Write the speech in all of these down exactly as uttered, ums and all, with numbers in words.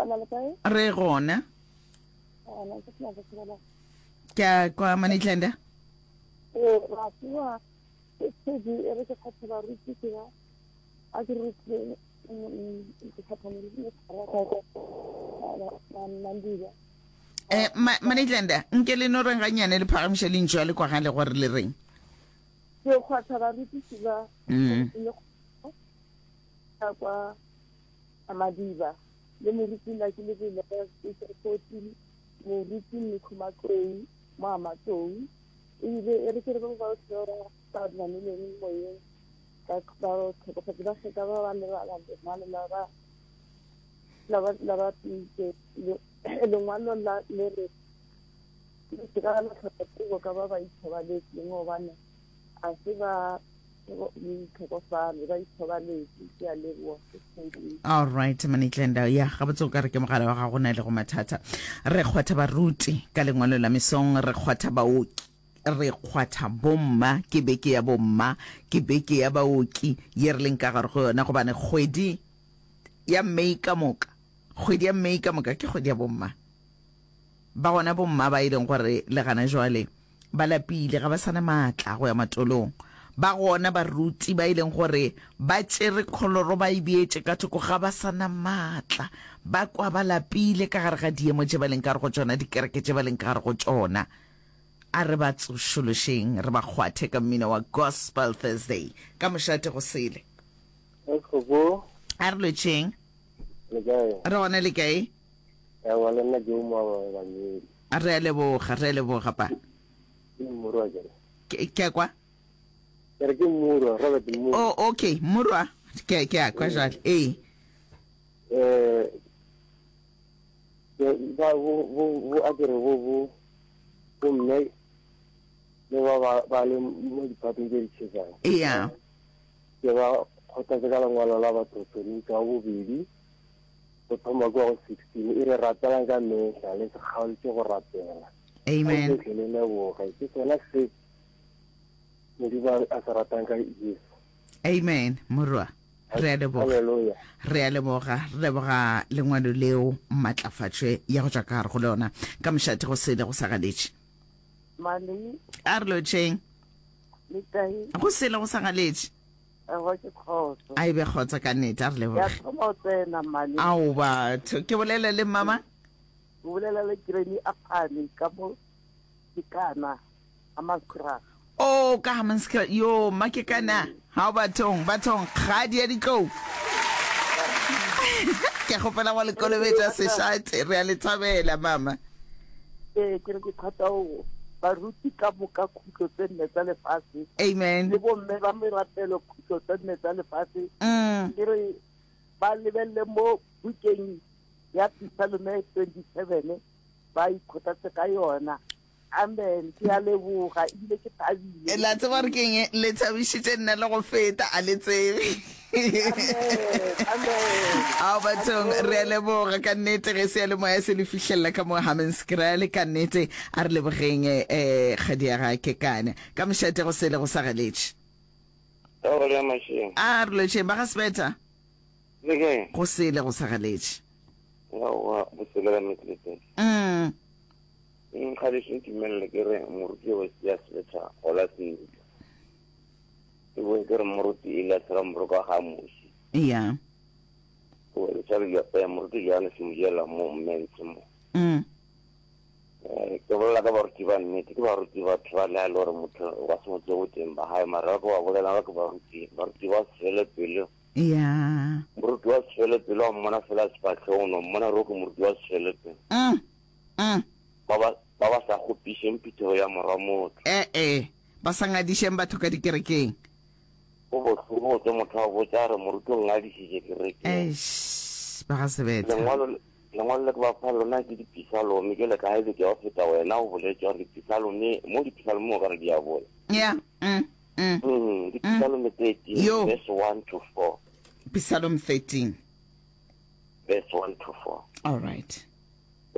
Gona le kae? Re gona. Gona ke tla go tsela. Ke a kwa Manitlanda. Eh, ra tswa. Ke tsedi e re ke kgatha baruti ke ba. A ke re ke ke kgatha moruti ke ra ka ka Mandiba. Eh, Manitlanda, nke le no reng ganyane le phagamiša lentšu a le kwagale gore le reng. Ke kgwatha barutiši ba Mm. le ka kwa Madiba le moruti la ke lebele fourteen moruti Mekhumatlou mo Amatlou ebile e re ke re ba ba ba ba namileng moyeng ba ba tlhokofatse ba feta ba ba lebala lengwalo la ba la ba la ba pitse lengwalo la le re le se ka la tlhoka tsebo ka ba ba ithobaletseng gobane a se ba tlhokofale ba ithobaletse ke a leboa. All right, Manitlanda, ya gabotse o ka re ke mogala wa gago na le go mathata. Re kgwatha baruti ka lengwalo la mesong, re kgwatha baoki, re kgwatha bomma, ke beke ya bomma, ke beke ya baoki ye re leng ka gare go yona, gobane kgwedi ya May ka moka, kgwedi ya May ka moka ke kgwedi ya bomma. Ba gona bomma ba e leng gore le gana jwale ba lapile, ga ba sana maatla go ya matolong. Ba gona baruti ba e leng gore ba tšere kholoro ba e beetše ka thoko, ga ba sana maatla, ba kwa ba lapile ka gare ga diemo tše ba leng ka gare go tšona, dikereke tše ba leng ka gare go tšona. A re ba tsošološeng, re ba kgwathe ka mmino wa Gospel Thursday ka mošate go sele. Esgogo. A re lwetšeng. Le kae? Re gona, le kae? Ewa, le nna ke o moaba bangedi. Re a leboga, re a leboga pa. Ke Morwa ke. Ke ke a kwa? Ke re ke Morwa, Robert Morwa. Oh, okay, Morwa. Ke ke a kwa jwale. Ee. Eh ke ba bo bo bo a ke re bo bo bo mme le ba ba ba le mo diphateng tse di tšhesang. Ee. Ke ba kgothatse ka lengwalo la Bathesalonika wa bobedi go thoma kwa go sixteen e re rapelang ka mehla le se kgaotse go rapela. Amen. Gohle le leboge. Ke sona se Modimo a se ratang ka Jesu. Amen, Morwa. Re a leboga. Hallelujah. Re a leboga, re leboga lengwalo leo matlafatšwe ya go tšwa ka gare go lona. Ka mošate go sele go sa galetše. Mali. A re lotšheng. Le kae? Go sele go sa galetše. Ewa ke kgotso. A e be kgotso ka nnete, a re leboge. Ya thoma o tsena Mali. Ao batho, ke bolela le mama? O bolela le Granny Aphane ka mo Kekana, Hammanskraal. Oh, ka Hammanskraal. Yo, mma Kekana. Hao bathong, bathong, kgadi ya ditlou. Ke kgopela go le kolobetša sešate, re a le thabela mama. Ee, ke re ke thata go baruti ka moka khutlo tse nne tsa lefase. Amen. Le bomme ba merapelo khutlo tse nne tsa lefase. Mm. Ke re ba lebelle mo bukeng ya Psalme twenty-seven ba ikgothatse ka yona. Amen. Ke a leboga ebile ke thabile. La tseba gore ke eng? Le thabišitše nna le go feta, a le tsebe. Amen. Amen. Ao bathong, re a leboga ka nnete ge seyalemoya se le fihlelela ka mo Hammanskraal. Ka nnete a re lebogeng eh kgadi ya ga Kekane. Ka mošate go sele go sa galetše. A re lotšheng ba ga Sebetha. Le kae? Go sele go sa galetše. Aowa, go sele ka nnete. Mm. Nkgadiše ntumelele ke re moruti wa ya Sebetha gola sentle. Ke boe ke re moruti Elias Ramoroka ga moši. Yeah. O le tshware ya eh, moruti Johannes Mojela mo Mmentshe mo. Mm. Eh, ke bolela ka baruti ba nnete, ke baruti batho ba le a le gore motho wa se mo tsebe boteng ba hae, mara ba ke ba bolela ba ke baruti, baruti ba se fele pelo. Yeah. Moruti wa se fele pelo wa mmona fela sefahlego, no mmona gore ke moruti wa se fele pelo. Mm. Mm. Ba ba, ba ba sa kgopišeng phuthego ya morwa motho. Eh eh, ba sa ngadišeng batho ka dikerekeng. Go bohloko go tse motho a botša re moruti o ngadišitše kerekeng. Eish, ba ga Sebetha. Lengwalo, lengwalo le ke ba fa lona ke dipisalome, jwale ka ha ebe ke ya go feta wena o boletše gore dipisalome, mo dipisalome o ka re di a bola. Yeah. Mm. Mm. Mm, dipisalome thirteen, Yo. verse one to four. Psalm thirteen. Verse one to four. All right.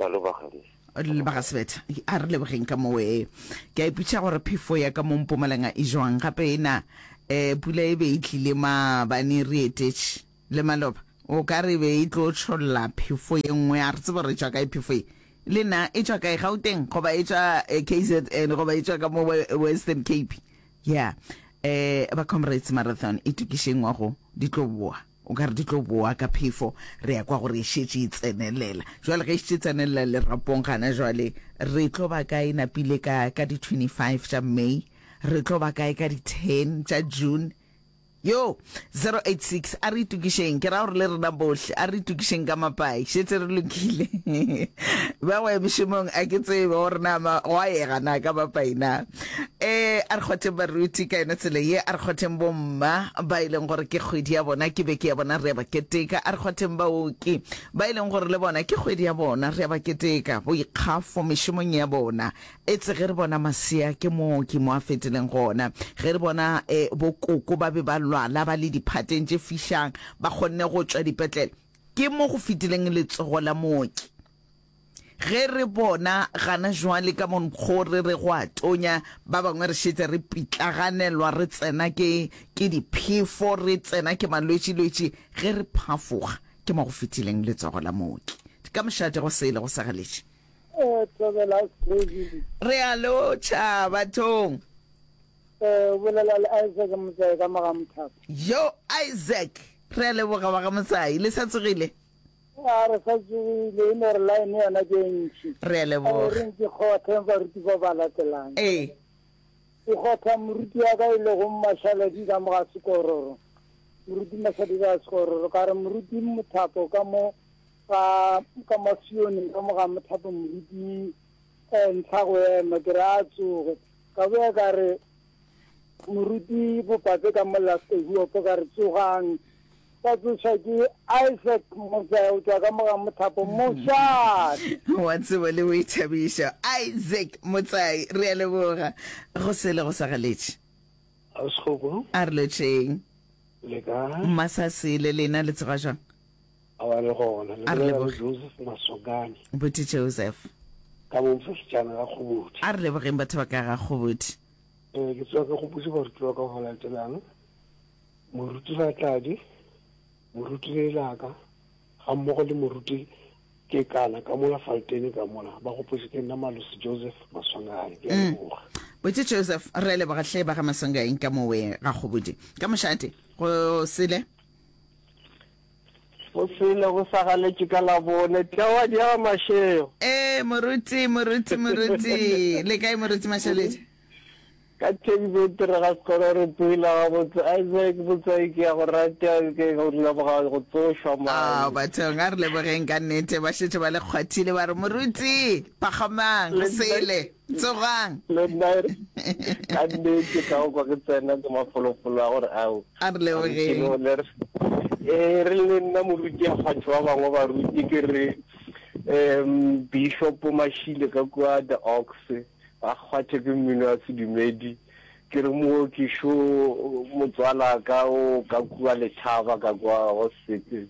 Ya lo ba gadiša. Le ba ga Sebetha, a re lebogeng ka moo. Ee, ke a ipotšiša gore phefo ya ka mo Mpumalanga e jwang gape ena. Eh, pula e be e tlile maabane re etetše le maloba. O ka re be e tlo tšholla phefo ye nngwe, a re tsebe gore e tšwa kae phefo ye. Le na e tšwa kae, Gauteng goba e tšwa K Z N goba e tšwa ka mo Western Cape? Ya, eh, ba Comrades Marathon itokišeng ngwago, di tlo boa. O ka re di tlo boa ka phefo, re ya kwa gore e šetše e tsenelela. Jwale ge e šetše e tsenelela lerapong gana jwale, re tlo ba kae napile ka, ka di twenty-five tša May? Re tlo ba kae ka di ten tša June? Yo, zero eight six, a re itokišeng, ke ra gore le rena bohle, a re itokišeng ka mapai, šetše re lokile. Ba go ya mešomong, a ke tsebe gore na ma, gwa yega na ka mapai na. Eh, a re kgwatheng baruti ka yona tsela ye, a re kgwatheng bomma ba e leng gore ke kgwedi ya bona, ke beke ya bona, re a ba keteka. A re kgwatheng baoki ba e leng gore le bona ke kgwedi ya bona, re a ba keteka, boikgafo mešomong ya bona. Etse ge re bona masea ke mooki mo a fetileng gona. Ge re bona eh, bokoko ba be ba lwala ba le diphateng tše fišang, ba kgonne go tšwa dipetlele, ke mo go fetileng letsogo la mooki. Ge re bona gana jwale ka monkgo re re go a tonya, ba bangwe re šetše re pitlaganelwa, re tsena ke, ke diphefo, re tsena ke malwetšilwetši, ge re phafoga ke mo go fetileng letsogo la mooki. Ka mošate go sele go sa galetše. Re a lotšha bathong. Eh, o bolela le Isaac Motsai ka mo ga Mothapo. Yo Isaac, re a leboga wa ga Motsai, le sa tsogile? A re sa tsogile, e no re line yona ke e ntši. Re a leboga. A re ke kgothe baruti ba ba latelang. Ee. Ke kgotha moruti wa ka e lego Mashaledi ka mo ga Sekororo. Moruti Mashaledi ka Sekororo, ka re moruti Mothapo ka mo ka ka Masione ka mo ga Mothapo moruti eh, ntlha go ema ke re a tsoge. Ka boya ka re moruti Bopape ka mo Lastehuopo ka re tsogang. Ka tsoša ke Isaac Motsai o tšwa ka mo ga Mothapo mošate. Wa tsebo le boithabišo Isaac Motsai, re a leboga. Go sele go sa galetše. A sekgoko. A re lotšheng. Le kae? Mmasasele lena le tsoga jwang? A wa le gona. Le A re bolela le leboge. Joseph Maswangane. Buti Joseph. Ka mo Mfefetšana ga Kgobodi. A re lebogeng batho ba ka ga Kgobodi. Eh, ke tsoga ke gopotše baruti ba ka go latelang. Moruti Ratladi, moruti Lelaka, ga mmogo le moruti Kekana ka mola Faltene ka mola. Ba gopotše ke nna Malosi Joseph Maswangane. Ke a Mm. leboga. Buti Joseph, re a leboga hle ba ga Maswangaeng ka mowe ga Kgobodi. Ka mošate, go sele. Go sele go sa galetše ka labone. Tlawa di ya Mashego. Eh, moruti, moruti, moruti. Le kae moruti Mashaledi? Ka thekbete re ga sekolo re tsogile gabotse. Isaac Motsai ke ya go rata, ke go leboga go tsošwa Ah, mane. bathong a re lebogeng ka nnete, ba šetše ba le kgwathile ba re moruti pagamang go Le nna sele tsogang. le nna ka nnete ka go kwa ke tsena ke mafolofolo a gore ao. A re Baruti lebogeng. le le re eh re le nna moruti a kgwathe ba bangwe baruti ke re um Bishop Mashile ka kua The Ox ba kgwathe ke mmino wa sedumedi ke re mooki šo motswala ka o ka kua Lethaba ka kua go sete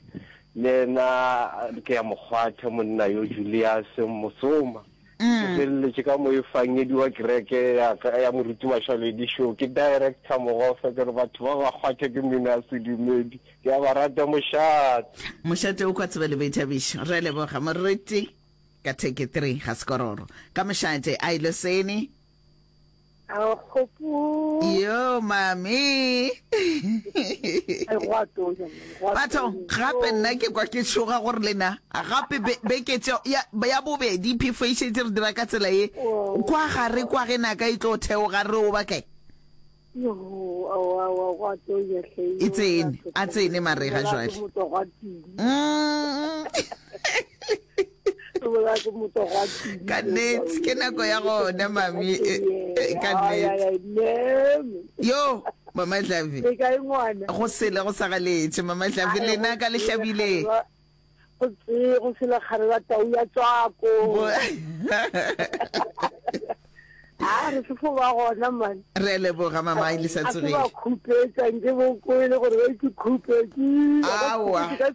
le yena ke ya mokgwathe monna yo Julius Mosoma ke Mm. feleletše ka moefangedi wa kereke ya ka ya moruti Mashaledi šo ke director mogofe ke re batho ba ba kgwathe ke mmino wa sedumedi ke a ba rata mošate. Mošate o kwa tsebe le boithabišo. Re a leboga moruti ka theke three ga sekororo. Ka mošate a ilo sene. A kgopo. Yo mami. Ai go a tonya, man, go a Batho tonya. gape nna ke kwa ke tšhoga gore lena gape be beke tše ya ya bobedi phefo e šetše re dira ka tsela ye kwa gare kwa ge naka e tlo theoga re o ba kae. Yo, aowa, aowa, go a tonya hle. E tsene, a tsene marega Bolela jwale. ke motho wa tini. Mm. Bolela ke motho wa tini. Ka nnete ke nako ya gona mami e, e, ka Ai, ai, nnete. ai, neme. Yo mama Hlabi. Le kae ngwana? Go sele go sa galetše mama Hlabi Ai, lena go ka le sele hlabile. kgare Go tse go sele kgare la tau ya tswako. Bo- A re se fo ba gona man. Re a leboga mama e le sa A se tsogile. ba khupetša nke bo kwele gore ba itse khupetše. Aowa, eh,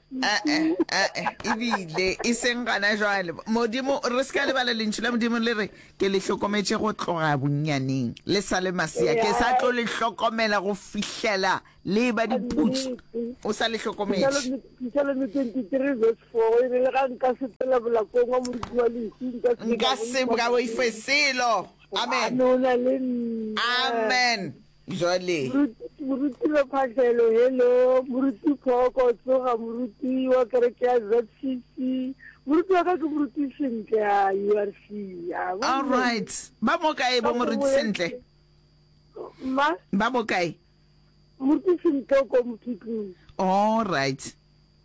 eh, eh, ebile e seng gana jwale. Modimo, re se ka lebala lentšu la Modimo le re, ke le hlokometše go tloga bonnyaneng, le sa le masea, ke sa tlo le hlokomela go fihlela le eba diputsu. O sa le hlokometše. Psalme twenty-three verse four e re le ga nka sepela bolakong wa moriti wa lehu nka se Nka se ka boife selo. Amen. Gobane o na le nna. Amen. Jwale. Moruti Lephahlelo, hello. Moruti Phoko, tsoga. Moruti wa kereke ya Z C C. Moruti wa ka ke Moruti Sentle ya U R C. All right. Ba mo kae bo Moruti Sentle? Ma? Ba mo kae? Moruti Sentle ko Mothutlung. All right.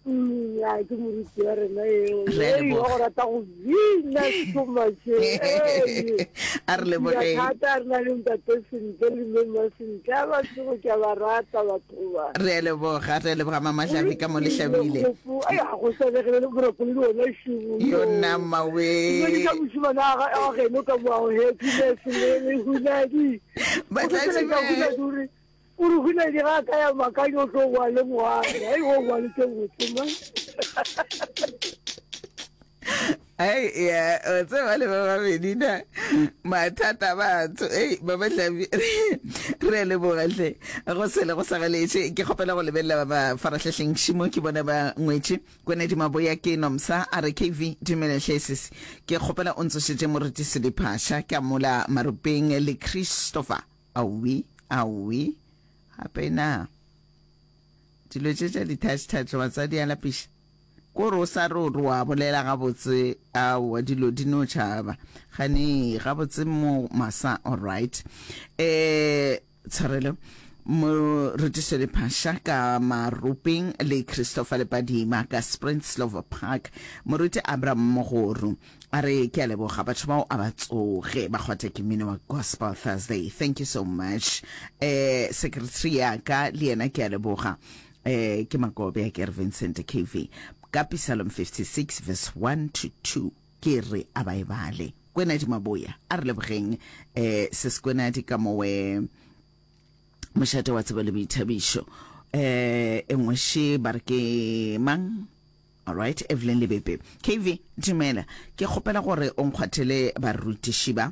Mm, ya ke moruti wa rena eo. Re a Ei, wa leboga. go rata go bina so much. Ei. A re lebogeng. Thata re na le ntate Sentle le mme Sentle. A ba tsogo ke a ba rata batho ba. Re a leboga, re a leboga Mama Hlabi ka mo le hlabile. Ai, ga go swanegile le boroko le ona šubu. Yona mawe. Ke ka mošimana a ga- a geno ka mo happiness le le hunadi. Ba tla O re hunadi ga a ka ya makanyo o tlo boa le moagi. Ai, o boa le tše botse man. Ai, ya, o tseba le ba babedi na mathata batho. Ei, ba ba hlabi. Re a leboga hle. Go sele go sa galetše. Ke kgopela go lebelela ba mafarahlahleng šimo ke bona ba ngwetše. Kwenedi Maboya ke Nomsa a re K V dumela hle sesi. Ke kgopela o ntsošetše Moruti Sediphasha ka mola Maropeng le Christopher. Aowi, aowi. Gape na dilo tše tša di-touch touch batswadi a lapiša. Kore o sa re o re wa bolela gabotse, aowa dilo di no tšhaba. Gane gabotse mo masa, all right. Eh, tshwarelo. Moruti Sediphasha ka Maropeng le Christopher Lepadima ka Sprintslover Park. Moruti Abraham Mogoru a re ke a leboga batho bao a ba tsoge ba kgwatha ke mmino wa Gospel Thursday. Thank you so much. Eh, secretary ya ka le yena ke a leboga. Eh, ke Makobe a ke re Vincent K V. Ka Psalm fifty-six verse one to two ke re a ba e bale. Kwenadi Maboya a re lebogeng eh se Kwenadi ka mowe mošate wa tsebo le boithabišo. Eh, e nngwe še ba re ke mang? Alright, Evelyn Lebepe. K V, dumela. Ke kgopela gore o nkgwathele barutiši ba.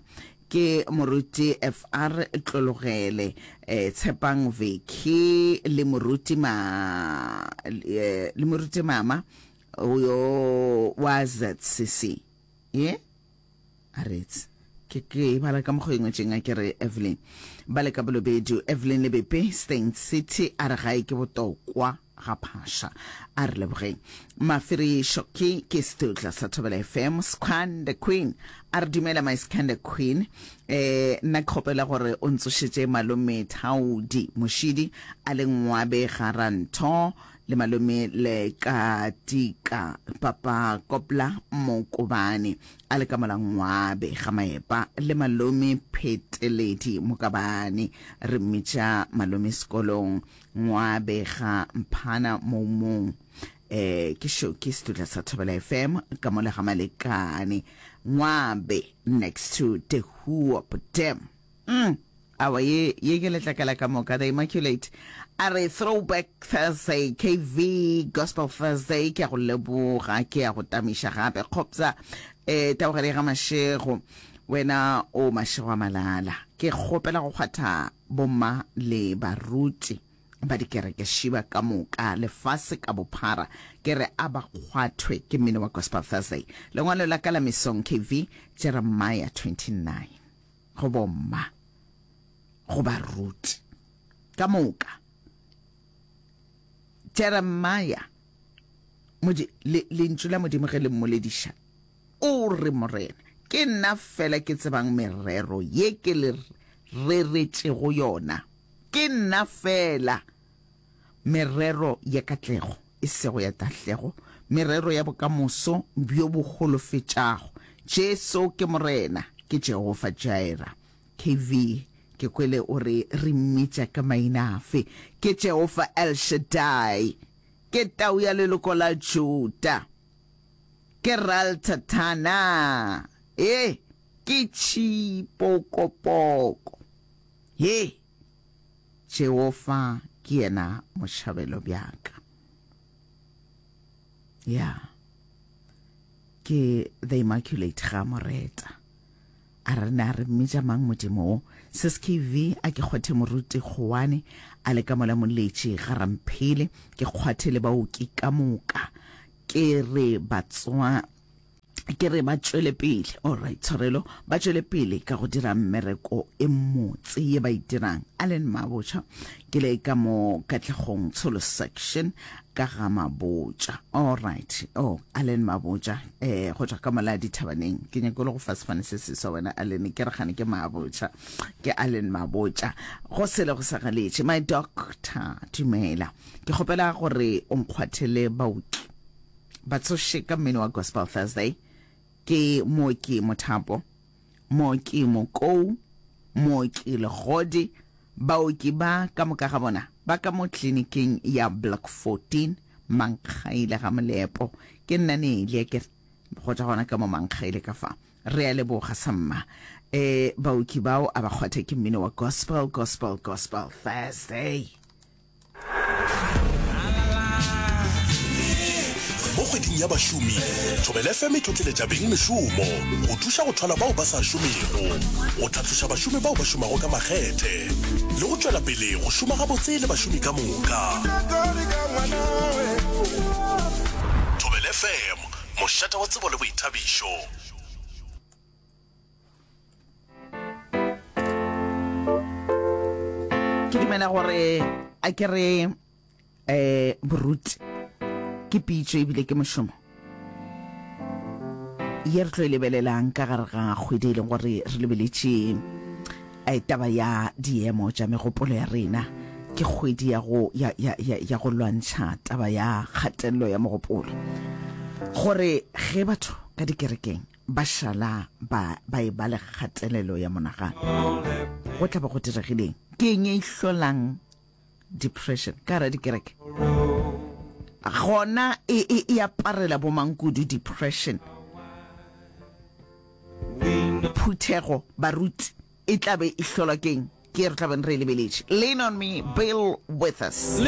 Ke Moruti F R Tlologele, eh, Tshepang Veki le Moruti ma eh, le Moruti Mama yo wa Z C C. Ye? A retse. Ke ke bala ka mokgwa e ngwetšeng a ke re Evelyn. Ba le ka Bolobedu, Evelyn Lebepe, Steyn City a re gae ke botokwa ga phasha. A re lebogeng. Mafiri Shoki ke setutla sa Thobela F M, Skhanda Queen. A re dumela my Skhanda Queen. Eh, nna ke kgopela gore o ntsošetše malome Thaudi Moshidi a le Ngwabe Garantho le malome le Katika Papa Kopla Mokobane a le ka mola Ngwabe ga Maepa le malome Pheteledi Mokabane re mmitša malome sekolong Ngwabe ga Mphana Moumong. Eh, ke show ke setutla sa Thobela F M ka mola ga Malekane Ngwabe next to the Huop Dam. Mm. Awa ye ye ke letlakala ka moka the Immaculate a re throwback Thursday K V Gospel Thursday ke a go leboga ke a go tamiša gape kgopsa eh tabogele ga Mashego wena o Mashego a malala ke kgopela go kgwatha bomma le baruti ba dikereke šiba ka moka lefase ka bophara ke re a ba kgwathwe ke mmino wa Gospel Thursday. Lengwalo la ka la mesong K V, Jeremiah twenty-nine go bomma go baruti ka moka. Jeremiah modi le lentšu la Modimo ge le mmolediša o re morena ke nna fela ke tsebang merero ye ke le reretšego yona, ke nna fela, merero ya katlego e sego ya tahlego, merero ya bokamoso bjo bo holofetšago. Jesu ke morena, ke Jehofa Jireh. K V, ke kwele o re re mmitša ka maina afe? Ke Jehofa El Shaddai, ke tau ya leloko la Juda, ke Raltatana, e Ke tšhipokopoko. He! Jehofa ke yena mošabelo bja ka. Ya. Ke The Immaculate ga mo reta. A re na re mmitša mang Modimo wo? Sis K V a ke kgwathe moruti Kgowane a le ka mola Moletši ga Ramphele, ke kgwathe le baoki ka moka. Ke re batswa ke re ba tšwele pele, alright, tshwarelo, ba tšwele pele ka go dira mmereko e mmotse ye ba e dirang. Allen Mabotja, ke le ka mo Katlegong Tsholo Section ka ga Mabotja. Alright, oh, Allen Mabotja, eh, go tšwa ka mola dithabaneng. Ke nyako le go fa sefane se seswa wena Allen, ke re gane ke Mabotja, ke Allen Mabotja. Go sele go sa galetše, my doctor, dumela. Ke kgopela gore o nkgwathele baoki ba tsoše ka mmino wa Gospel Thursday. Ke Mooki Mothapo, Mooki Mokou, Mooki Legodi, baoki ba ka moka ga bona ba ka mo tleliniking ya Block fourteen, Mankgaile ga Molepo. Ke nna Nelia ke re go tšwa gona ka mo Mankgaile ka fa. Re a leboga samma. E, baoki bao a ba kgwathe ke mmino wa Gospel, Gospel, Gospel Thursday. Mo kgweding ya bašomi, Thobela F M e tlotleletša bengmešomo go thuša go thwala bao ba sa šomego, go tlhatloša bašomi bao ba šomago ka makgethe le go tšwela pele go šoma gabotse le bašomi ka moka. Thobela F M, mošate wa tsebo le boithabišo. Ke dumela gore a ke re eh boruti ke pitšo ebile ke mošomo ye re tlo e lebelelang ka gare ga kgwedi e leng gore re lebeletše eh, taba ya diemo tša megopolo ya rena. Ke kgwedi ya go, ya, ya, ya, ya go lwantšha taba ya kgatelelo ya mogopolo, gore ge batho ka dikerekeng ba šala ba, ba e ba le kgatelelo ya monagano, go tla ba go diregileng? Ke eng e hlolang depression ka gara dikereke? Gona e, e, e aparela bomang kudu depression? Phuthego, baruti, e tla be e hlolwa ke'ng? Ke ye re tla beng re e lebeletše. Lean on me, Bill Withers.